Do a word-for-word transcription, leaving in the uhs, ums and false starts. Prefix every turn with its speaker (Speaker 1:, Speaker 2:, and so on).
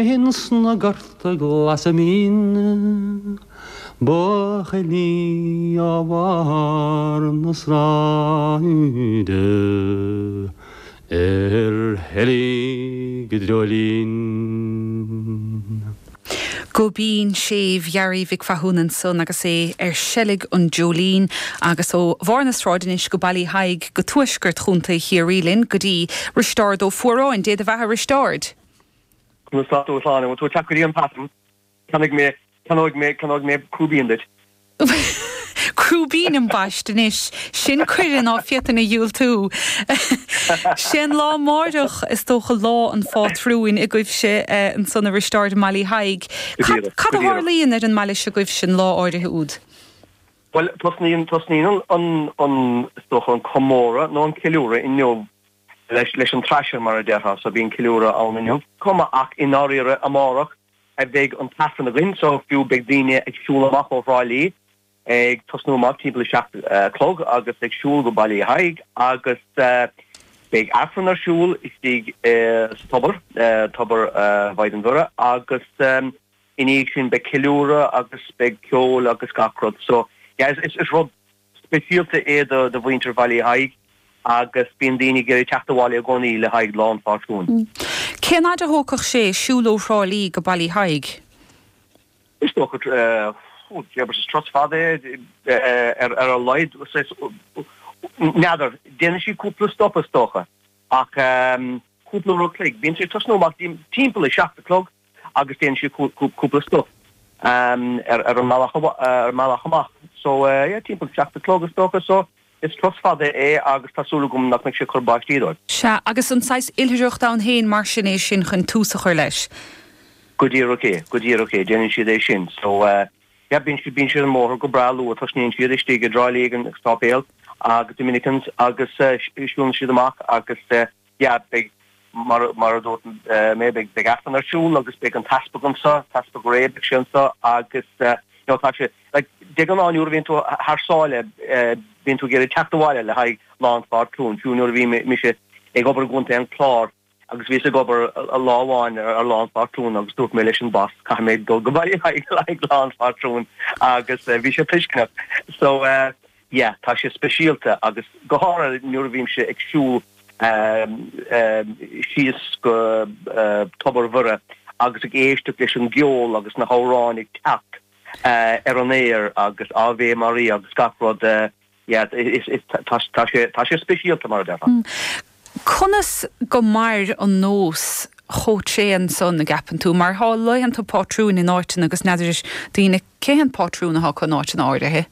Speaker 1: Ins na gorta glasa mín Buachaillí ó bharr na sráide Ar sheilg a dreoilín.
Speaker 2: Go binn séimh Ghearaí Mhic Mhathúna ansan agus é ar seilg an dreoilín agus ó bharr na sráide anois go Baile Thaidhg go tuaisceart Chontae Chiarraí linn go dtí Risteárd Ó Fuaráin, Dé do bheatha Risteárd.
Speaker 3: Sláine tú teach an pattern Ceannóidh mé ceannóidh mé ceannóidh mé crúibín duit.
Speaker 2: Crúibín ambaist anois sin cuireadh ná féadfainn a dhiúltú. Sin lá amárach is dócha lá an phátrúin agaibhse ansan a Risteárd i mBaile Thaidhg. Cad a tharlaíonn ar an mbaile seo agaibhse an lá áirithe úd?
Speaker 3: Well tosnaíonn tosnaíonn an an is dócha an comóradh nó an ceiliúradh inniu leis leis an trasir mar a déarfá so bíonn ceiliúradh ann inniu. Cuma ach i ndáiríre amárach a bheidh an t-aifreann againn so fiú beidh daoine ag siúl amach ó Thrá Lí ag tosnú amach timpeall a seacht chlog agus ag siúl go Baile Thaidhg agus beidh aifreann ar siúl istigh sa tobar tobar Mhaighdean Mhuire agus i ndiaidh sin beidh ceiliúradh agus beidh ceol agus gach rud so yeah, is, is rud speisialta é do do mhuintir Bhaile Thaidhg agus bíonn daoine ag teacht abhaile i gcónaí le haghaidh lá an phátrúin.
Speaker 2: Cén fhad a thógfadh sé siúl ó Thrá Lí go Baile Thaidhg?
Speaker 3: Is dócha is turas fada ar ar a laghad n'fheadar déanann sí cúpla stop is dócha ach cúpla uair an chloig bíonn sé tosnú amach timpeall a seacht a chlog agus déanann sí cúpla stop ar ar an mbealach ar mbealach amach so yeah, timpeall seacht a chlog is dócha so is turas fada é agus tá súil agam nach mbeidh sé cur báistí dóibh.
Speaker 2: Sea agus an saghas oilithreacht ann féin mar sin é sin chun tús a chur leis.
Speaker 3: Go díreach é go díreach é déanann siad é sin so uh, yeah, bíonn siad bíonn siad an mbóthar go breá luath tosnaíonn siad istigh i dTrá Lí ag an sáipéal agus Dominicans agus uh, siúlann siad amach agus uh, yeah, beidh mar mar a dúirt uh, mé beidh beidh aifreann ar siúl agus beidh an t-easpag anseo t-easpag Ray beidh sé anseo agus uh, you know, tá sé like, de ghnáth nuair a bhíonn tú thar sáile uh, bíonn tú ag iarraidh teacht abhaile le haghaidh lá an phátrúin fiú nuair a bhí mise ag obair i gContae an Chláir agus bhíos ag obair a lá amháin ar lá an phátrúin agus dúirt mé leis an boss caithfidh mé dul go baile le haghaidh lá an phátrúin agus uh, bhí sé tuisceanach so uh, yeah, tá sé speisialta agus go háirithe nuair a bhímse ag siúl um, um, síos go uh, Tobar Mhuire agus ag éisteacht leis an gceol agus na hamhráin ag teacht uh, ar an aer agus Ave Maria agus gach rud uh, yeah, is, is, tá sé tá sé speisialta mar a déarfá.
Speaker 2: Mm. Conas go mair an nós chomh tréan san an gceapann tú, mar tá laethanta pátrúin in áiteanna agus n'fheadar daoine cén pátrún atá in áiteanna áirithe.